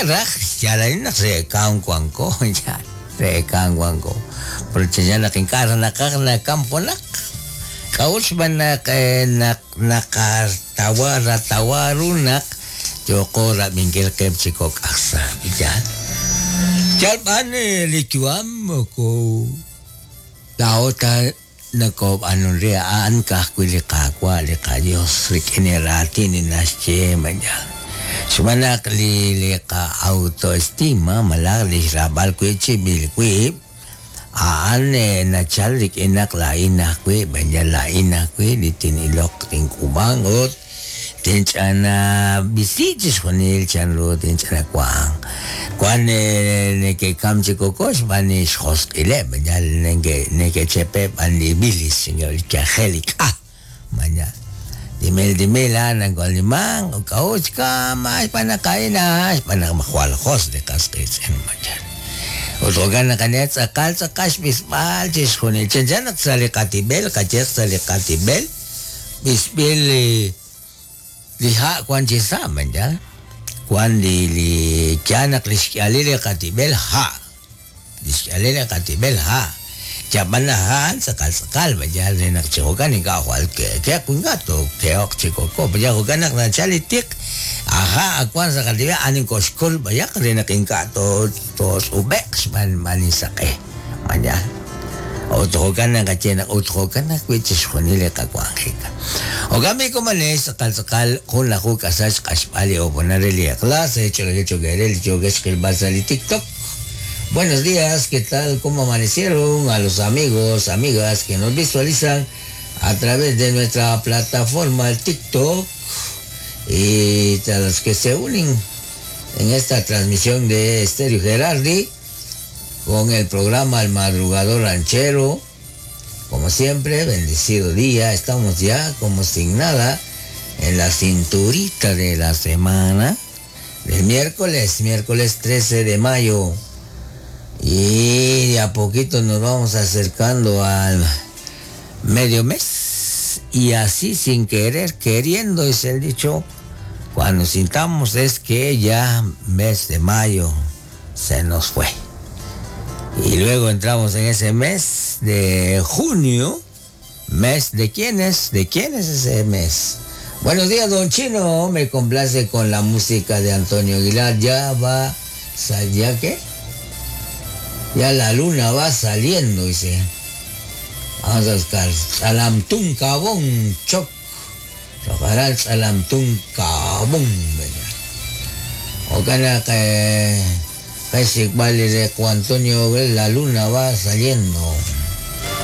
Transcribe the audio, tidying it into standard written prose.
Ink'a' raj yal a'in naq re kamk wanko, yaal re kamk wanko. Pero chanchan naq ink'a' raj naqaj nakam junaq. K'a'ut xb'aan naq naq naqatawa ratawa ru naq yooqo rab'inkil qib' chi kok' aj sa', yaal. Yal b'an li yu'am moko laa'o ta Nokoob'aanun re a'an ka'ajwi' li Qaawa' li qaYos rik'in li raatin li naxye mañana. Xb'aan naq li li qa'autoestima malaj li xraab'al wi' chib'il wib' a'an nachal rik'in naq laa'in ajwi' mañana laa'in ajwi' li tin'iloq tink'uub'anq ut Tinch'anab'isi chixjunil chanru tinch'anawanq. Wank neke'kamk chi koko xb'aan li xjosq'ileb', yal neke'chepe' b'an li bilis, li yajel, li k'a. Mañana. Timil timil a'an nak'ulmank, k'a'ut xkamk? Xb'aan naq a'in a'an, xb'aan naq jwal josq' li qas qiitz'in. Mañana. Ut jo'kan naq anihat tz'aqal tz'aqal xb'isb'al chixjunil. Chanchan naq sa' li qatib'el, qayehaq sa' li qatib'el, B'isb'il li ha' wan chi sa', mañana. Wan li li yaal naq lix k'ihalil li qatib'el ha'. Lix k'ihalil li qatib'el ha'. Yab'an laj ha' a'an tz'aqal tz'aqal, mañana, re naq chi jo'kan ink'a' jwal ke'ke'q ink'a' tookehoq chi koko. Mañana jo'kan naq nachal li tiq, a ha' ak wan sa' qatib'el a'an nokooxkol b'ayaq re naq ink'a' tootz'ub'e'q xb'aan li saq'e. Mañana. Ut jo'kan naqaye naq ut jo'kan ajwi' chixjunil li qawanjik. Jo'kan b'i' komonex, tz'aqal tz'aqal junlaju k'asal xq'axb'al li hoonal re li eq'la sa' ch'oolej cho'q eere li yookex xqilb'al sa' li TikTok. Buenos días, ¿qué tal? ¿Cómo amanecieron? A los amigos, amigas que nos visualizan a través de nuestra plataforma el TikTok y a los que se unen en esta transmisión de Estéreo Gerardi con el programa El Madrugador Ranchero. Como siempre, bendecido día. Estamos ya como sin nada en la cinturita de la semana del miércoles, miércoles 13 de mayo. Y de a poquito nos vamos acercando al medio mes. Y así sin querer, queriendo, es el dicho, cuando sintamos es que ya mes de mayo se nos fue. Y luego entramos en ese mes de junio. ¿Mes de quién es? ¿De quién es ese mes? Buenos días, don Chino. Me complace con la música de Antonio Aguilar. Ya va... ¿Ya qué? Ya la luna va saliendo, dice. Vamos a buscar. Salamtún Cabón, Choc. Chocaral Salamtún Cabón. Ojalá que Antonio, la luna va saliendo.